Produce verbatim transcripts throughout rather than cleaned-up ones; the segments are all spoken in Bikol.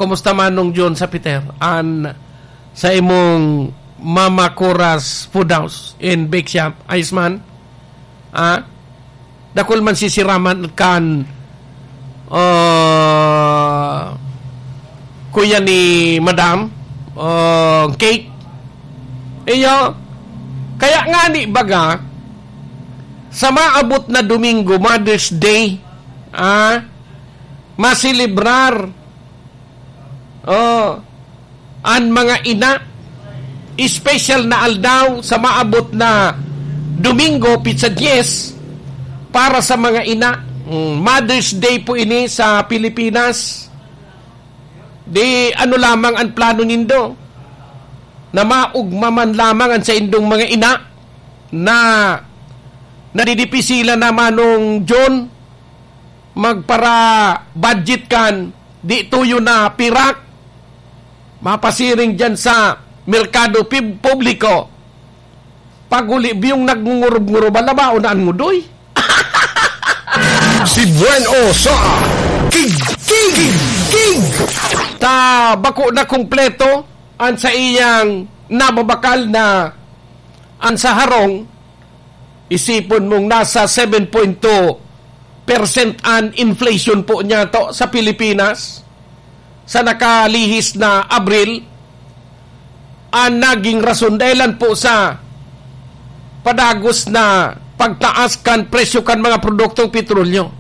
Kumusta, Manong John, sa Peter? An sa imong Mama Cora's Food House and Bake Shop, ayos man? Ah, dakul man sisiraman kan, ah, kuya ni Madam, ah, cake. Iyo, kaya nga ni baga, sa maabot na Domingo, Mother's Day, ah, maselebrar, oh, an mga ina, espesyal na aldaw sa maabot na Domingo, pitsa dyes, para sa mga ina. Mm, Mother's Day po ini sa Pilipinas. Di ano lamang an plano nindo? Na maugma man lamang an saindong mga ina na nadidipisilan na, Manong John, magpara-budget kan di tuyo na pirak, mapasiring diyan sa merkado pib-, publiko. Pag huli, biyong nagngungurob-ngurob, alabaon na an ngudoy. Si Buen O sa King, King, King. Ta bako na kumpleto an sa iyang nababakal na an sa harong, isipon mong nasa seven point two percent an inflation po niya to sa Pilipinas sa nakalihis na Abril. An naging rason dahilan po sa padagos na pagtaas kan presyo kan mga produktong petrolyo.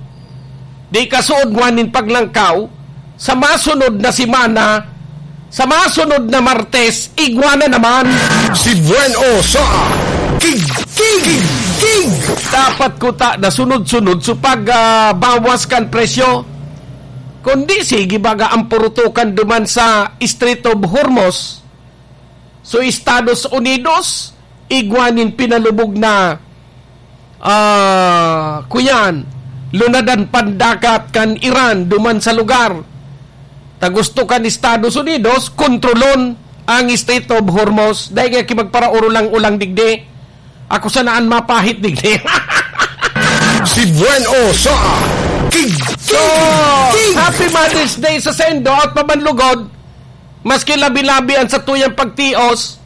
Di kasuod ngwan nin paglangkaw, sa masunod na semana, sa masunod na Martes, igwa na naman. Si Buen O sa King, King, King. Dapat kuta na sunod-sunod so pag, ah, bawas kan presyo. Kundi sige baga ang purutukan duman sa Strait of Hormuz. So, Estados Unidos, igwa nin pinalubog na, ah, kuyan, lunadan pandagat kan Iran duman sa lugar. Ta gusto kan Estados Unidos, kontrolon ang Strait of Hormuz. Dahil nga ki magparaurulang-ulang digdi. Ako sana an mapahit digdi. Si Buen O sa King, So, King, King. Happy Mother's Day sa saindo at pamanlugod. Maski labi-labi an satuyang pagtios,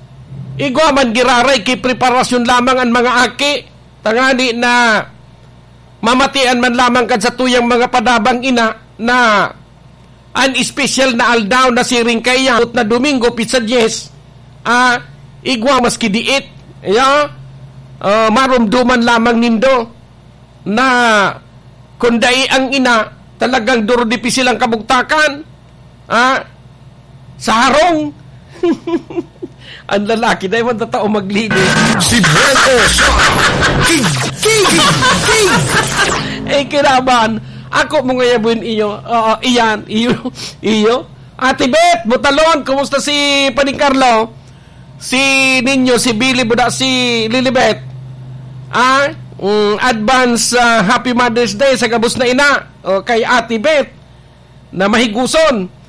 igwa man giraray ki preparasyon lamang an mga aki, tangani na mamatian man lamang kan satuyang mga padabang ina na an espesyal na aldaw na siring kaiyan, na Domingo, pitsa dyes, ah, igwa maski diit, ya, ah, maromdoman lamang nindo na kun dai ang ina, talagang duro dipisil ang kabugtakan. Ah, sa harong. Ang lalaki, dai man tatao maglinis. Si Buen O sa King, King, King. Eh, kinaban. Ako mo ngayon, iyo. Oo, iyan. Iyo. Iyo. Ate Beth, Butalon, kumusta si Paning Carlo? Si Ninyo, si Billy, buda si Lilibet. Ah, mm, advance, ah, Happy Mother's Day sa gabos na ina. O, kay Ate Beth na mahiguson.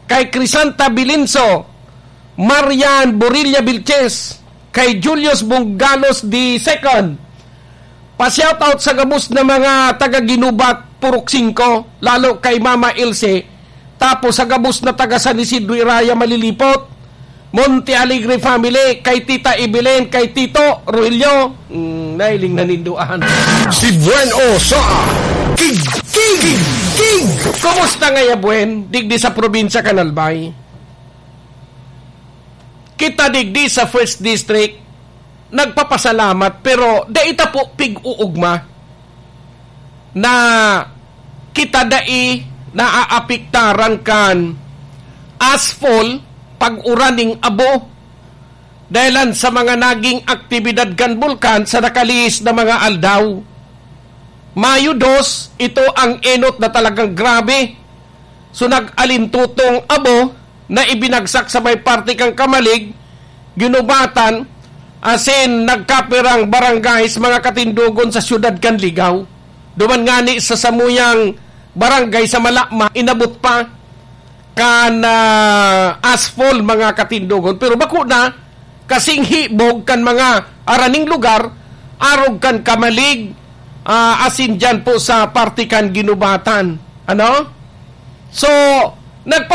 Kay Crisanta Bilinso, Marian Borilla Vilches, kay Julius Bungalos the second. Pa-shoutout sa gabos na mga taga Ginubat, Purok Singko, lalo kay Mama Ilse, tapos sa gabos na taga San Isidro Iraya, Malilipot, Monte Alegre family, kay Tita Evelyn, kay Tito Rogelio, mm, nailing naninduan. Si Buen O sa King, King, King. Kumusta ngaya, Buen? Digdi sa probinsya kan Albay. Kita digdi sa First District, nagpapasalamat, pero dai ta po pig-uugma na kita dai naaapektaran kan ashfall, pag-uran ning abo, dahilan sa mga naging aktibidad kan bulkan sa nakalihis na mga aldaw. Mayo dos, ito ang enot na talagang grabe. So, nag-alintutong abo na ibinagsak sa may parte kan Camalig, Guinobatan, asin nagkapirang barangay sa mga katindogon sa siyudad kan Ligao. Duman ngani sa samuyang barangay sa Malama, inabot pa kan, ah, ashfall, mga katindogon. Pero bako na, kasing hibog kan mga araning lugar, arog kan Camalig, ah, asin dyan po sa parte kan Guinobatan. Ano? So, nagpa-